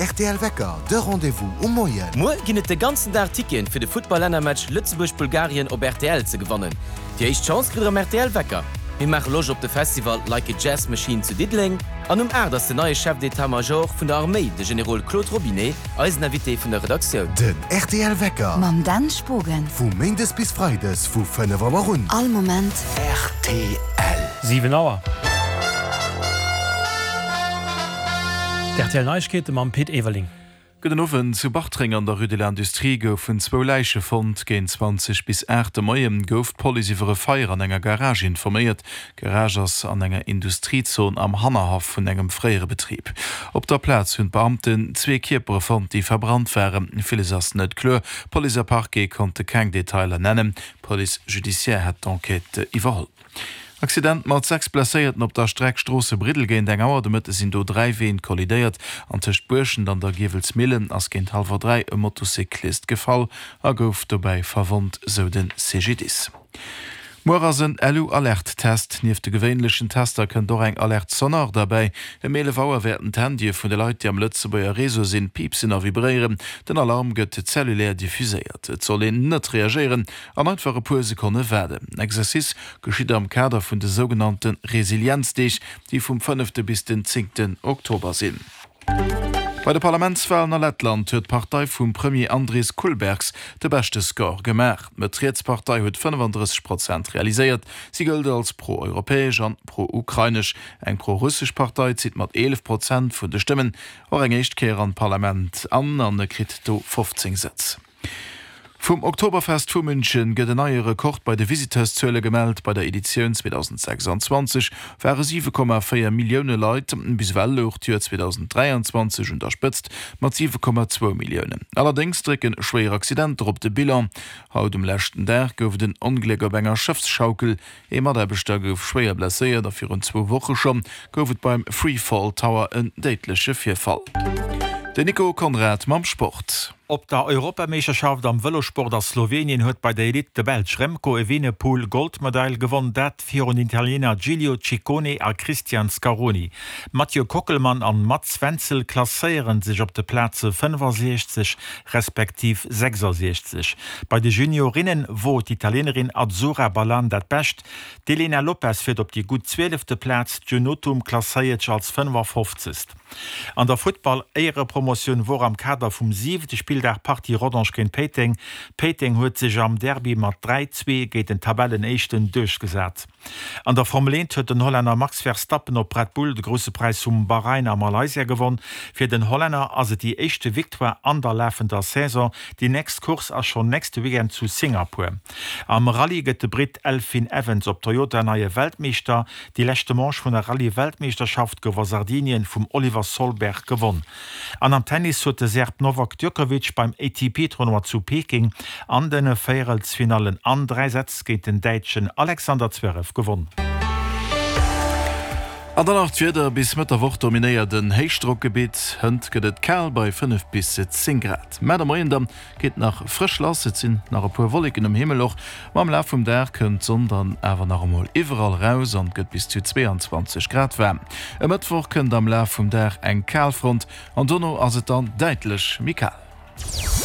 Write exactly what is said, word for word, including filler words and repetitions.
rtl Wecker, de Rendez-vous um Moien. Muer ginn et de ganzen Dag Ticketen fir de Futtball-Lännermatch Lëtzebuerg-Bulgarien op rtl ze gewannen. Déi éischt Chance kritt der am rtl Wecker. Mir maache Loscht op de Festival Like a Jazz Machine zu Diddeleng an um aacht ass den neie Chef d'état-major vun der Arméi, de Generol Claude Robinet, eisen Invité vun der Redaktioun. Den rtl Wecker. Mam Dan Spogen. Vu méindes bis freides vu fënnef Auer un. All Moment. Rtl. Siwen Auer. D'RTL Neiegkeete mam Pit Everling. Gudden Owend. Zu Bartreng an der Rue de l'Industrie goufen zwou Läiche fonnt. Géint zwanzeg bis aacht de Moien gouf d'Police iwwer e Feier an enger Garage informéiert. D'Garage ass an enger Industriezon am Hannerhaff vun engem fréiere Betrib. Op der Plaz hunn d'Beamten zwee Kierpere fonnt, déi verbrannt waren. Villes ass net kloer. Police a Parquet konnte keng Detailer nennen. D'Police judiciaire hätt d'Enquête iwwerholl. Accident mat sechs Blesséierten op der Streck Stroosse-Briddel. Géint eng Auer de Mëtte sinn do dräi Ween kollidéiert an tëscht Buerschent an der Giewelsmillen ass géint hallwer dräi e Motocyclist gefall a gouf dobäi verwonnt, sou de C G D I S. Muer ass en Lu-Alert-Test. Nieft de gewéinlechen Tester kënnt och eng Alerte sonore derbäi. Ëm eelef Auer wäerten d'Handye vun de Leit, déi am Lëtzebuerger Réseau sinn, piipsen a vibréieren. Den Alarm gëtt zellulär diffuséiert. Et soll een net reagéieren an einfach e puer Sekonne waarden. Den Exercice geschitt am Kader vun de sougenannte Resilienzdeeg, déi vum fënnefte bis den zéngten Oktober sinn. Bei de Parlamentswalen a Lettland huet d'Partei vum Premier Andris Kulbergs de beschte Score gemaach. D'Mëtt-Riets-Partei huet fënnefandrësseg Prozent realiséiert. Si gëllt als pro-europäesch an pro-ukrainesch. Eng pro-russesch Partei zitt mat eelef Prozent vun de Stëmmen och eng éischt Kéier an d'Parlament an an kritt do fofzéng Sëtz. Vum Oktoberfest vu München gëtt en neie Rekord bei de Visiteurszuele gemellt. Bei der Editioun zweedausendsechsanzwanzeg ware siwe Komma véier Millioune Leit. Bis ewell louch d'Joer zweedausenddräianzwanzeg un der Spëtzt mat siwe Komma zwou Milliounen. Allerdéngs drécke schwéier Accidenter op de Bilan. Haut um leschten Dag gouf et en Ongléck op enger Schëffsschaukel. Ee Mataarbechter gouf schwéier blesséiert a virun zwou Woche scho gouf et beim Freefall Tower en déidleche Virfall. Den Nico Conrad mam Sport. Op der Europameeschterschaft am Vëlossport a Slowenien huet bei der Elite de Belsch Remco Evenepoel Goldmedail gewonn, dat virun den Italiener Giulio Ciccone a Christian Scaroni. Mathieu Kockelmann an Mats Wenzel klasséiere sech op de Plaze fënnefasiechzeg respektiv sechsasiechzeg. Bei de Juniorinne wor d'Italienerin Azzurra Ballan dat Bescht, d'Elena Lopes fiert op déi gutt zwielefte Plaz, d'June Nothum klasséiert sech als fënnefafofzegst. An der Futtball-Éierepromotioun wor am Kader vum siwente Spilldag Partie Rodange géint Péiteng. Péiteng huet sech am Derby mat dräi, zwee géint den Tabellenéischten duerchgesat. An der Formel eent huet den Hollänner Max Verstappen op Red Bull de Grousse Präis vum Bahrain a Malaysia gewonn. Fir den Hollänner ass et déi éischte Victoire an der lafender Saison. Déi nächst Course ass schonn nächste Weekend zu Singapur. Am Rallye gëtt de Britt Elfyn Evans op Toyota neie Weltmeeschter. Déi leschte Manche vun der Rallye-Weltmeeschterschaft gouf a Sardinien vum Oliver Solberg gewonn. An am Tennis huet de Serb Novak Djokovic beim A T P-Tournoi zu Peking an de Véierelsfinallen an dräi Sätz géint den Däitschen Alexander Zverev gewonn. An dann nach d'Wieder, Bis Mëtt der Woch dominéiert en Héichdrockgebitt. Hënt gëtt et kal bei fënnef bis zéng Grad. Mä de Moien da geet nach frësch lass, et sinn nach e puer Wolleken um Himmel och, ma am Laf vum Dag kënnt d'Sonn dann awer nach emol iwwerall raus an et gëtt bis zu zweeanzwanzeg Grad waarm. E Mëttwoch kënnt am Laf vum Dag eng Kalfront an dono ass et dann däitlech méi kal.